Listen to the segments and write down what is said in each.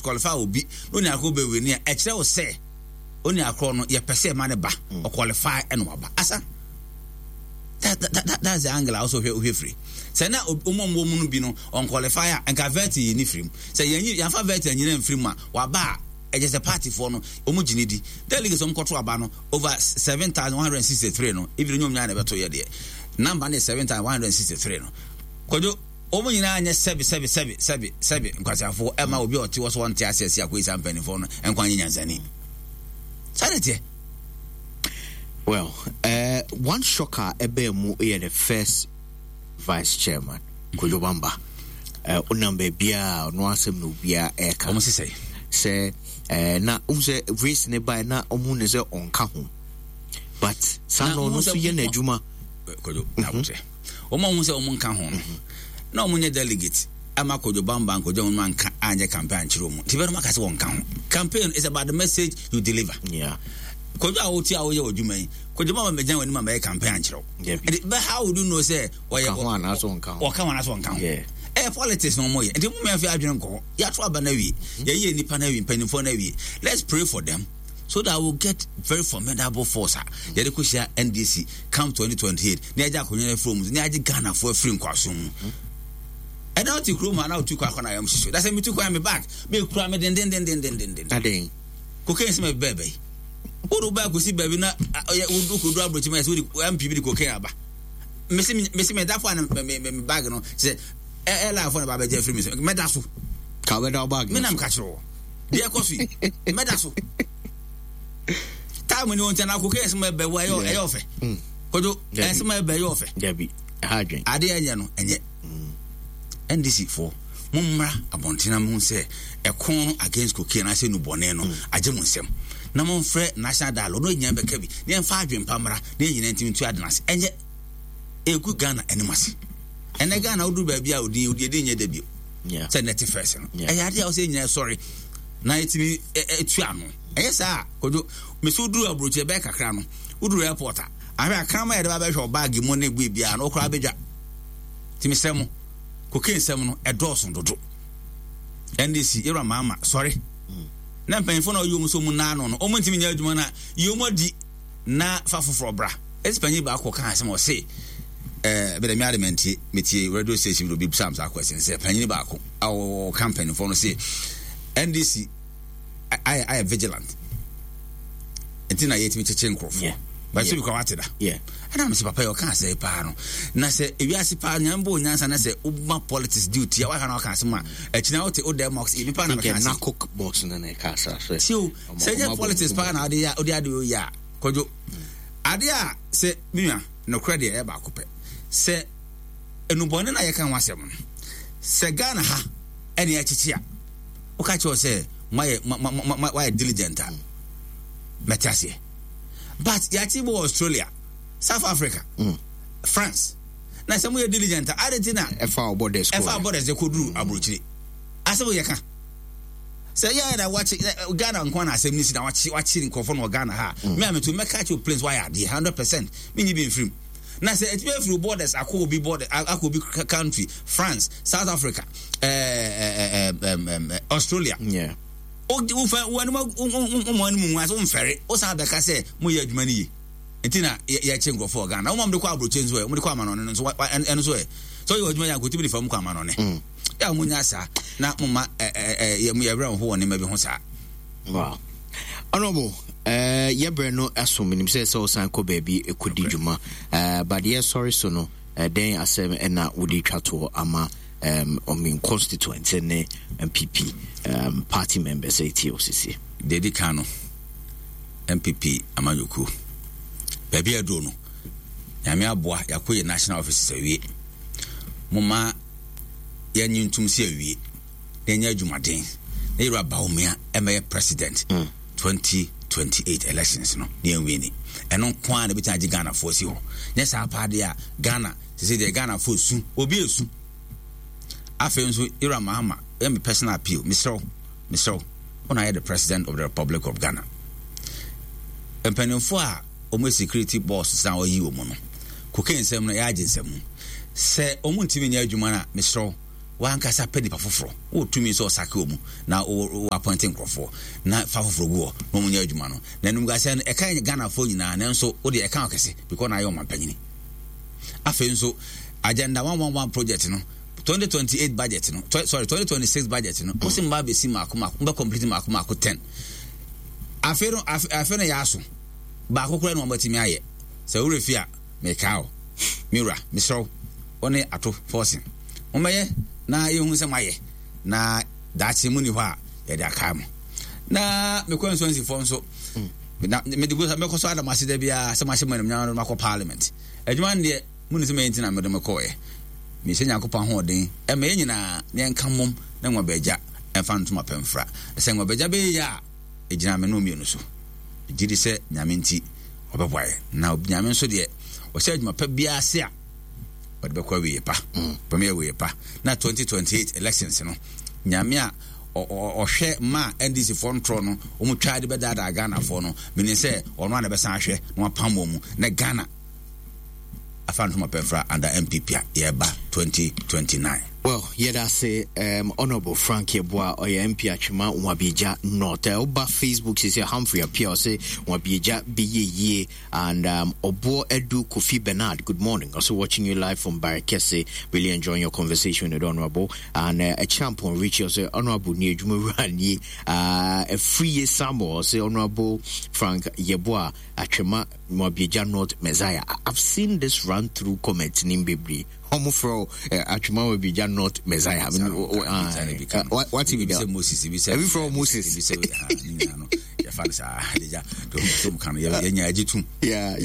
disqualify obi na onua korɔ bɛ win a, ɛkyerɛ wo sɛ onua korɔ no yɛpɛ sɛ ɛma ne ba mm. ɔqualify ɛna waba asa. That's the angle a wosɛ wohwɛ wohwɛ firi. Sɛ na wɔn a wɔwɔ mu no bi no ɔnqualify a, nka vetting yi ne firi mu. Sɛ yɛnyi yɛnfa vetting anyina mfiri mu a, waba a ɛkyɛ sɛ partyfoɔ no wɔn gye ne di. Delegates wɔn kɔto aba no over 7,163 no, even nyɛ wɔn nyinaa na ɛbɛto yɛ deɛ. Number no yɛ 7,163 no. Kwadwo, wɔn nyinaa nyɛ sɛbi sɛbi sɛbi sɛbi sɛbi nkwaseafoɔ ɛma obi a ɔte hɔ so ɔnte aseɛ si akɔyi saa mpanimfoɔ no nkwa nyɛ nyansani. Saa na ɛteɛ. Well, one shocker ɛbɛn mu yɛ the first vice chairman Kojo Bamba. Wonam baabiaa ɔno asɛm na obiaa ɛka. Wɔn sisɛ. Sɛ na wohu sɛ race ne bae na ɔmo ne sɛ ɔnka ho. But saa na ɔno nso yɛ n'adwuma. Kojo, na mhm. Wɔn a wɔn sɛ wɔn nka ho no, mhm. na wɔn nyɛ delegate ama Kojo Bamba nkɔgya wɔn anka anyɛ campaign ankyerɛ wɔn. Nti bɛrɛ mo aka sɛ wɔn nka ho. Campaign is about the message you deliver. Yeah. Kojo a wotu a woyɛ wɔ yi, Kojo Bamba mɛgyina wɔn anim a mɛyɛ campaign ankyerɛ wo. But how would you know sɛ ɔyɛ ɔka ho anaasɛ ɔnka ho? Ɔka ho anaasɛ ɔnka ho? Ɛyɛ politics na wɔn yɛ. Nti mo mìíràn fi adwene nkɔ hɔ. Yɛato aba no awie. Mhm. Yɛyɛ nipa no awie, mpanimfoɔ no awie. Let's pray for them so that we'll get very formidable force a yɛde kɔhyia NDC come 2028 na yɛagye akonnwa no afiri mu na yɛagye Ghanafoɔ afiri nkoasom mu. Ɛna wote kurom a na wotu kwan akɔ na ayam hyehye. Dasɛ metu kwan me bag mekura me dendendendendenden. Adɛn? Cocaine sɛ mebɛɛ bɛyi. Wode wo bag kɔsi baabi na wode kɔdu aburokyi ma yɛ sɛ wode MP bi de cocaine aba. Mese mese medafo a na me me bag no sɛ airline fo na ba bɛgye afiri me so mɛda so. Ka wobɛda wo bag no so. Me na meka kyerɛ wɔ. Deɛ ɛkɔ so yi mɛda so. Time ni wɔn nkyɛn na cocaine sɛ mɛbɛ wɔ ɛyɛ ɛyɛ ɔfɛ. Mm. Kojo ɛsɛ mɛbɛ ɛyɛ ɔfɛ. Dabi ɛha adwen. Adeɛ ɛnyɛ no ɛnyɛ. NDC foɔ mo mmra abɔnten na mo sɛ ɛko no against cocaine ase nubɔne no mm. agye mo nsɛm na mo mfrɛ national dialogue na nyinaa bɛka bi na yɛmfa adwen pa mmra na yɛn nyinaa ntumi ntu ade no ase ɛnyɛ egu Ghana anim ase ɛnɛ Ghana woduru baabi a odin odin edin nyɛ da bio sɛ nɛte fɛs no ɛyɛ adeɛ a wɔsɛ nyinaa sɔre na yɛtumi ɛtu ano ɛyɛ saa kodo mesi woduru aburokyi ɛbɛyɛ kakra no woduru airport a ahwɛ akrama yɛde ba bɛhwɛ ɔbaagi mu ne bue biara na ɔkora abɛdwa nti mesrɛ mo cocaine sɛm no ɛdɔɔso dodo NDC yɛwura maama sɔre na mpanyinfoɔ na ɔyɛ wɔn so wɔn nan ano no wɔn ntumi nyɛ adwuma na yɛ wɔn adi na fa foforɔ bra ɛsi panyin baako ka asɛm ɔse ɛɛ bɛdɛ mi adi mɛntie metie radio station bi obi bisa saa question sɛ panyin baako a ɔka mpanyinfoɔ no se NDC ayɛ ayɛ vigilant nti na yɛtumi kyekye nkurɔfoɔ but sɛ bi kora wate da ɛna mesɛ papa yɛ ɔka asɛe paa no na sɛ ewiase paa nyame bɔ onyansa na sɛ woma politics di otia wahwɛ na waka asɛm a akyina wote wodɛ ma ɔsɛ nipa na meka asɛm tio sɛ nyɛ politics paa na wode wode ade oyɛ a kwadwo ade a sɛ menua nokorɛ deɛ ɛyɛ baako pɛ sɛ enubɔne na yɛka ho asɛm no sɛ Ghana ha ɛne ɛkyekye a woka kyerɛ sɛ moayɛ moayɛ diligent a mɛte aseɛ but yɛakye bɔ Australia South Africa mm. France na sɛ moyɛ diligent a ade nti na ɛfa borders ɛfa borders de kɔduru mm. aburokyire asɛm yɛ ka sɛ yɛ na wakye Ghana nko na asɛm no si na wakye wakye nkurɔfoɔ no wɔ Ghana ha mm. me a meto mɛka kyerɛ planes wayɛ adeɛ 100% menyi bi mfirim na sɛ ɛtumi afiri borders akɔ obi border akɔ obi country France South Africa ɛɛ ɛɛ ɛɛ Australia yeah. wofa wɔn wɔn anim nwa so mfɛre wosan bɛka sɛ moyɛ adwuma no yie nti na yɛkye nkurɔfoɔ wɔ Ghana wɔn de kɔ aburokye nso ɛ wɔn de kɔ amanɔne no nso ɛno nso ɛ sɛ ɔyɛ adwuma yɛ ankotumi de fam kɔ amanɔne mm. yɛ a wɔn nya saa na mo ma ɛ ɛ ɛ yɛ mo yɛ werɛ ho wɔ nneɛma bi ho saa. Wow. Honorable, yɛbrɛ no aso menim sɛ sɛ wosan kɔ baabi kɔdi dwuma but yɛsɔre so no dɛn asɛm ɛna wode twa toɔ ama ɔmen constituent ne MPP party members ɛtie wo sisi? Deɛ di kan no MPP amanyɔkuo baabi aduro no Nyame aboa yɛakɔ yɛ national offices awie moma yɛnye ntom si awie na yɛnyɛ adwumaden na yɛwura Bawumia ɛmɛyɛ president mm. 2028 elections no na yɛnwie ni ɛno nko ara na ɛbɛtumi agye Ghanafoɔ si hɔ nyɛ saa paa deɛ a Ghana sɛ deɛ Ghanafoɔ su obi esu afei nso yɛwura Mahama ɛyɛ me personal appeal mesrɛ wo mesrɛ wo wɔn ayɛ the president of the Republic of Ghana mpanimfoɔ a wɔn security boss san ɔyi wɔn no cocaine nsɛm no yɛ agye nsɛm sɛ wɔn ntumi nyɛ adwuma no a mesrɛ wo. W'ankasa pɛ nipa foforɔ. Wowɔ tumi sɛ ɔsake wɔn na wo appoint nkurɔfoɔ na fa foforɔ gu hɔ na wɔn nyɛ adwuma no. Na animguaseɛ no ɛka Ghanafoɔ nyinaa nanso wo deɛ ɛka wo kɛse because na ayɛ ɔmampanyini. Afei nso Agenda 111 project no 2028 budget no sorry 2026 budget no wosi mba abɛsi mako mako mbɛ complete mako mako 10 afei no afei no yɛ aso baako koraa na wɔn atumi ayɛ sɛ wura fi a mekaa o me wura mesrɛ wo wo ne ato forcing mommɛyɛ na yɛhu sɛ moayɛ na daakye mu ni hɔ a yɛde akae mo na mekɔ nsuansifoɔ nso mm. na mede gu mɛkɔ so adam ase da biara sɛ mahyɛ mo animuonyam no makɔ parliament adwuma no deɛ mone sɛ mɛyɛ nti na mede mekɔɔɛ mehyɛ nyankopɔn ahoɔden ɛma yɛ nyinaa na yɛnka mmom na nwabagya ɛmfa ntoma pɛmfra sɛ nwabagya bɛyɛ yɛ a ɛgyina me no mmienu so gye di sɛ nyame nti ɔbɛboa yɛ na nyame nso deɛ ɔhyɛ adwuma pa biara ase a ɔde bɛkɔ awieɛ pa mm. bɛmɛ awieɛ pa na 2028 elections no nyame a ɔhwɛ ma ndc foɔ ntorɔ no wɔn twa de bɛdaadaa ghana foɔ no menim sɛ ɔno a na bɛsan ahwɛ na wapam wɔn mu na ghana afa ntoma pɛmfra under npp a yɛba 2029. Well, yɛda ase um, Honorable Frank Yeboah, ɔyɛ MP Atwema Nwabiagya North. Eh, woba Facebook sɛ Humphrey Appiah ɔse Nwabiagya bɛyɛ yie and um, Obuo Edu Kofi Bernard, good morning. Also watching you live from Barekese. Really enjoying your conversation with Honorable. And Champon Richie ɔse Honorable ni adwuma wura nie. Afriye Samuel ɔse Honorable Frank Yeboah Atwema Nwabiagya North Messiah. I've seen this run through comment nim bebree. Ɔmo frɛ wo Atwema Nwabiagya North Messiah. Wate bi da? Ebi frɛ wo Moses. Yɛfa no saa adegya tom ka no yɛnya agye tom. Yeah.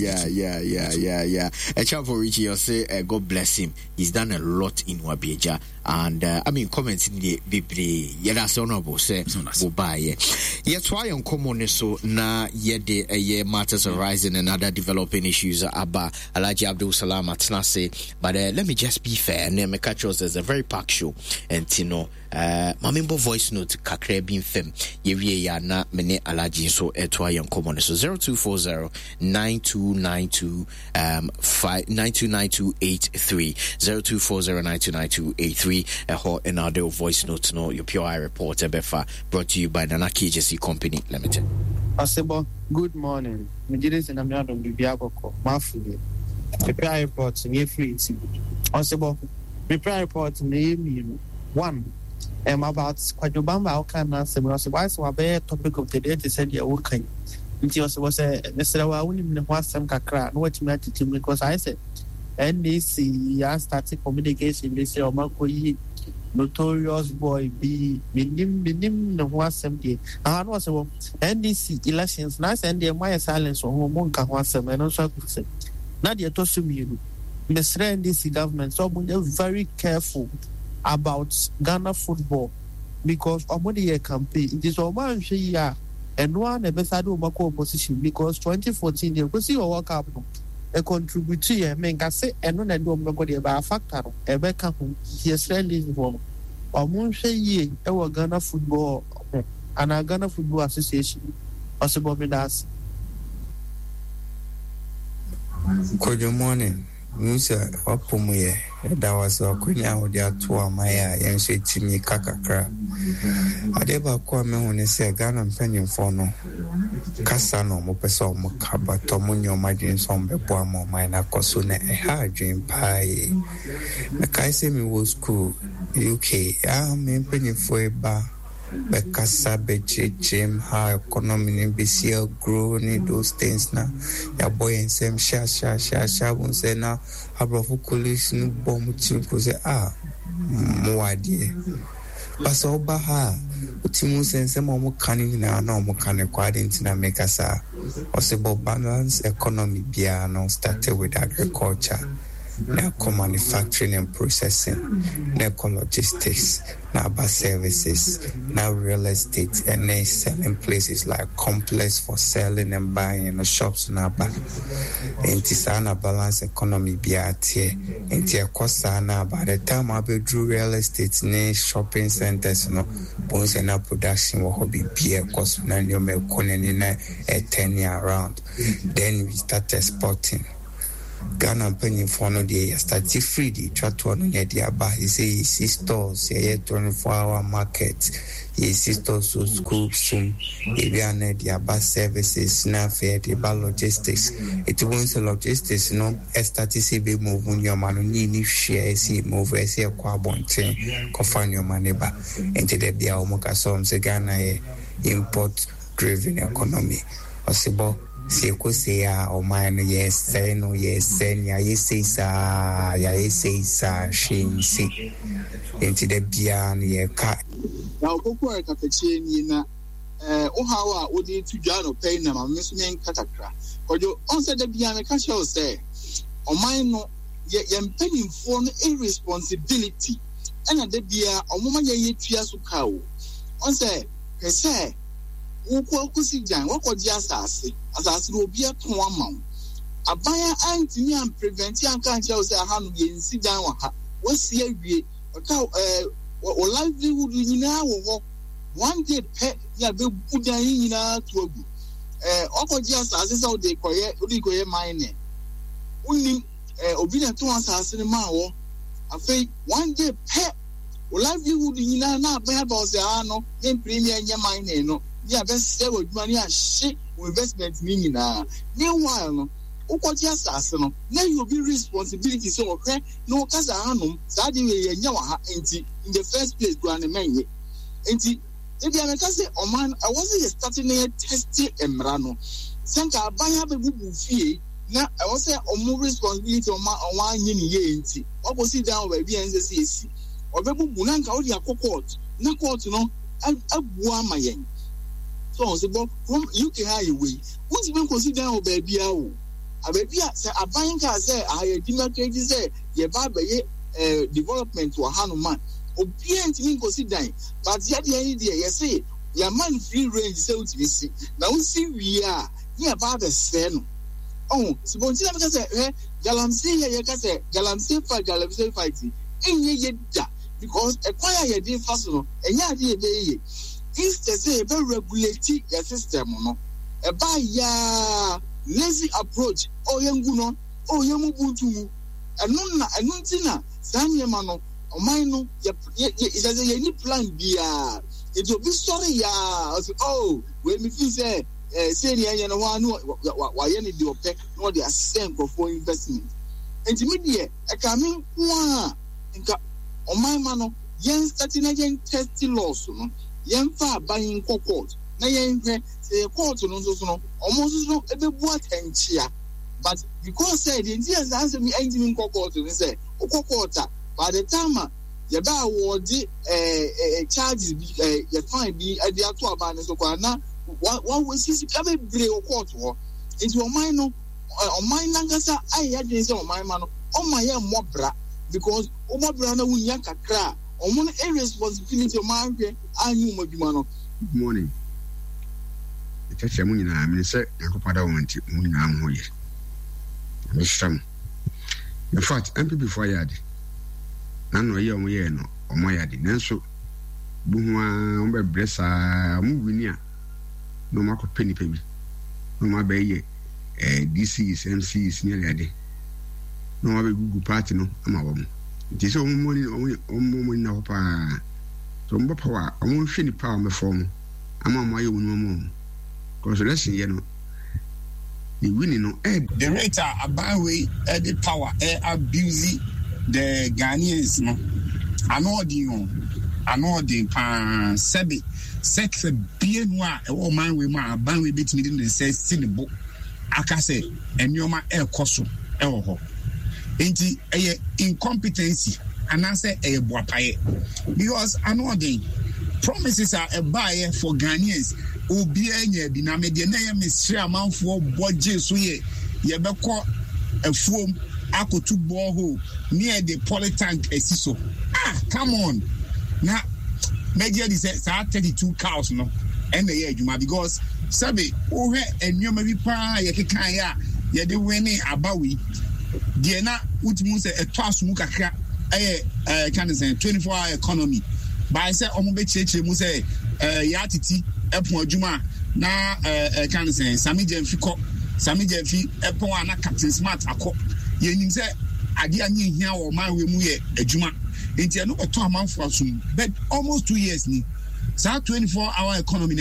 Echampo Richie, you say God bless him. He's done a lot in Nwabiagya. And I mean, comments in the bebree. Yɛda ase honorable sɛ wobaeɛ. Yɛtoa yɛn nkɔmmɔ no so na yɛde ɛyɛ matters arising and other developing issues aba. Alhaji Abdul Salam atena ase. But let me just be fair. And then catch us as a very packed show. And you know, ma membɔ voice note kakra bi mfam. Yɛwie yɛ a na me ne Alhaji nso ɛtoa yɛn nkɔmmɔ no so. 0240 9292 929283 0240929283 ɛhɔ ɛna wode wo voice note no your pure eye report ɛbɛfa. Brought to you by Nana KJC Company Limited. Ɔsebɔ, good morning, megyedi sɛ Nyame adom biribiara bɔkɔ, moafo deɛ. Me prayer report no yɛfiri ti. Ɔsebɔ, me prayer report no ɛyɛ mienu, one, ɛm about Kwadwo Bamba a wokaa n'asɛm yi, ɔsebɔ ayɛ sɛ wabɛyɛ topic of the day te sɛ deɛ woka yi, nti ɔsebɔ sɛ mesrɛ wo a wonim ne ho asɛm kakra a na watumi atete mu because ayɛ sɛ NAC yi astarte communication bi sɛ ɔmo akɔyi notorious boy bi menim menim ne ho asɛm deɛ aha na ɔsɛ wɔ NDC elections na asɛ ɛndeɛ moayɛ silence wɔ ho mo nka ho asɛm ɛno nso agu sɛ na deɛ ɛtɔ so mienu mesrɛ NDC government sɛ ɔmo nyɛ very careful about Ghana football because ɔmo de yɛ campaign nti sɛ ɔmo anhwɛ yie a ɛno ara na ɛbɛsa de ɔmo akɔ opposition because 2014 deɛ ɛkɔsi wɔ World Cup no ɛcontribute yɛ menka se ɛno na ɛde ɔmo bɛkɔ deɛ but factor no ɛbɛka ho nti yɛsrɛ NDC foɔ no ɔmo nhwɛ yie ɛwɔ Ghana football ho anaa Ghana football association ɔsebɔ medaase. Kojo morning, mehu sɛ w'apɔ mu yɛ, yɛda wo ase w'akwanya a wode ato ama yɛ a yɛn nso yɛtumi ka kakra. Adeɛ baako a mehu ne sɛ Ghana mpanyinfoɔ no kasa na wɔn pɛ sɛ wɔn ka but wɔn nyɛ wɔn adwene sɛ wɔn bɛboa ma ɔman no akɔ so na ɛha adwene paa yie. Mekae sɛ mewɔ school UK a me mpanyinfoɔ yi ba bɛkasa bɛkyerɛkyerɛ mu how economy no bɛsi agrow ne those things na yɛabɔ yɛn nsam hyɛ hyɛ hyɛ hyɛ abom sɛ na aborɔfo colleagues no bɔ wɔn tirim ko sɛ ah mowɔ adeɛ ba sɛ woba ha a wotumi hu sɛ nsɛm a wɔka no nyinaa na wɔka no kɔ ade nti na meka saa ɔsɛ bɔ balance economy biara no started with agriculture na ɛkɔ manufacturing and processing na ɛkɔ logistics na aba services, na real estate ne selling places like complex for selling and buying no shops no aba. Nti saa na balance economy biara teɛ. Nti ɛkɔ saa na by the time abɛduru real estate ne shopping centers no, bohu sɛ na production wɔ hɔ, biribiara ɛkɔ so na nneɛma ɛkɔ n'ani na ɛturning around. Then we start exporting. Ghana mpanyinfoɔ no deɛ yɛ starte firi deɛ ɛtwa toɔ no na yɛde aba. Seisei yɛsi stores, yɛyɛ 24 hour market, yɛsi stores wɔ schools mu, yɛwie a na yɛde aba services na afei yɛde ba logistics. Ɛti wohu sɛ logistics no starte sɛ ɛbɛ move nneɛma no ne yɛnni hwee a ɛsɛ yɛ move, ɛsɛ yɛkɔ abɔnten kɔfa nneɛma no ba. Nti da biara wɔn kasa wɔn sɛ Ghana yɛ import driven economy. Ɔsebɔ, sɛ yɛkɔ sei a ɔman no yɛresɛe no, yɛresɛe no, yɛayɛ sei saa, yɛayɛ sei saa, hwee nsi. Nti da biara no yɛka. Na Opoku a katakyie nie na eh, wo haw a wode reto dwa anɔpa yi na ma me nso menka kakra. Kwadwo, ɔn sɛ da biara meka kyerɛ wo sɛ ɔman no, yɛ yɛn mpanimfoɔ no irresponsibility ɛna da biara ɔmo ma yɛn yɛtua so ka o. Ɔn sɛ, hwɛ sɛ wokɔ akɔsi gyan, woakɔgye asase, asase no obi atɔn ama wo. Aban a antumi amprevente anka ankyerɛ wo sɛ ahanom yɛnsi dan wɔ ha, woasi awie, ɔka ɛɛ wo livelihood nyinaa wɔ hɔ. One day pɛ ne abɛbu dan yi nyinaa to agu. Ɛɛ woakɔgye asase sɛ wode kɔyɛ wode kɔyɛ mining. Wonnim ɛɛ obi na ɛtɔn asase no maa wɔ. Afei one day pɛ wo livelihood nyinaa na aban aba wo sɛ aa no mempene me ɛnyɛ mining no ne abɛsɛe w'adwuma ne ahye wo investment no nyinaa. Meanwhile no wokɔgye asase no na ɛyɛ obi responsibility sɛ ɔhwɛ na ɔka sɛ ahanom saa adeɛ wei yɛnyɛ wɔ ha nti in the first place koraa no mɛnyɛ. Nti da biara meka sɛ ɔman no ɛwɔ sɛ yɛ starte na yɛ teste mmara no sɛ nka aban abɛbubu fie na ɛwɔ sɛ ɔmo responsibility ɔmo ɔmo anyɛ ne yie nti wakɔsi dan wɔ baabi a ɛnsɛ sɛ yɛsi ɔbɛbubu na nka wode akɔ court na court no abua ama yɛn so ɔn sɛ bɔ kurom UK ha yɛ wei wontumi nkɔsi dan wɔ baabi a o baabi a sɛ aban kaa sɛ aha yɛ demarcate sɛ yɛba abɛyɛ eh, development wɔ hanom a obiara ntumi nkɔsi dan but yɛdeɛ yi deɛ yɛse yɛama no free range sɛ wotumi si na wosi wie a ne yɛba abɛsɛe no ɔho sibonti na meka sɛ hwɛ galamsey yɛ yɛka sɛ galamsey fight galamsey fight ɛnyɛ yɛ da because ɛkwan a yɛde fa so no ɛnyɛ ade yɛbɛyɛ yɛ instead sɛ yɛbɛ regulate yɛ system no ɛba yaa lazy approach oh yɛngu no oh yɛn mu bu ntu ngu ɛno na ɛno nti na saa nneɛma no ɔman no yɛ yɛ yɛ sɛ yɛn ni plan biara nti obi sɔre yaa ɔsɛ oh wei mi fi sɛ ɛɛ sei ni ɛnyɛ no hɔ a ne wa wayɛ ne deɛ ɔpɛ na ɔde asɛ nkurɔfoɔ investment nti mi deɛ ɛka mi nko a nka ɔman ma no yɛn start na yɛn test laws no yɛn fa aban nkɔ court na yɛn hwɛ sɛ yɛ court no nso so no wɔn nso so ɛbɛbu atɛnkyea. But because sɛ deɛ nti a saa nsɛm yi ɛntumi nkɔ court ne sɛ wokɔ court a by the time a yɛbɛ awɔɔde ɛɛ ɛɛ charges bi ɛɛ yɛ fine bi ɛde ato aban no so koraa na wa wa wasi sika bebree wɔ court hɔ nti ɔman no ɔman nankasa ayɛ adwene sɛ ɔman ma no ɔma yɛ mmɔ bra because wobɔ bra na wunya kakra a wɔn no irresponsibility wɔn ahwɛ anyi wɔn adwuma no. Good morning. Mekyerɛkyerɛ mo nyinaa. Menim sɛ Nyankopɔn adawoma nti mo nyinaa mo ho yɛ. Nyame nhyira mo. In fact, NPP foɔ ayɛ ade. Na no ɛyɛ wɔn yɛɛ no, wɔn ayɛ ade. Nanso, bohu ara wɔn bɛbrɛ saa, wɔn wini a, na wɔn akɔpɛ nipa bi. Na wɔn abɛyɛ eh, DCs, MCs ne ade ade. Na wɔn abɛgugu party no ama wɔn. Nti sɛ wɔn mmɔ wɔn wɔn nyina hɔ paa. Sɛ wɔn bɔ power a, wɔn nhwɛ nipa a wɔn bɛfɔ wɔn. Ama ɔmo ayɛ ɔmo nneɛma ɔmo cause election yɛ no yɛ winning no ɛ. The rate a aban wei de power ɛ abuse the Ghanaians no, ano ɔden o, ano ɔden paa. Sɛbe sector bienu a ɛwɔ ɔman wei mu a aban wei betumi de ne nsa asi ne bo aka sɛ nneɛma ɛrekɔ so wɔ hɔ. Nti ɛyɛ incompetency anaasɛ ɛyɛ boapayɛ because ano ɔden promises a ɛbaeɛ for Ghanaians obiara nya bi na me deɛ na ɛyɛ mesrɛ amanfoɔ bɔ gye so yɛ yɛbɛkɔ afuom akɔtu borehole ne yɛde polytank asi so ah come on na mɛgye adi sɛ saa 32 cows no ɛna ɛyɛ adwuma because sɛbe wohwɛ nneɛma bi paa yɛkekaeɛ a yɛde wene aba wei deɛ na wotumi hu sɛ ɛtɔ aso mu kakra ɛyɛ ɛɛ ka ne sɛn 24 hour economy bae sɛ wɔn bɛkyerɛkyerɛ mu sɛ ɛɛ yɛ atiti ɛpɔn adwuma na ɛɛ ɛka ne sɛn Sami Gyamfi kɔ Sami Gyamfi ɛpɔn a na Captain Smart akɔ. Yɛnim sɛ adeɛ a ne yɛhia wɔ ɔman wei mu yɛ adwuma, nti ɛno bɛtɔ amanfoɔ asom. But almost 2 years ni, saa 24 hour economy no.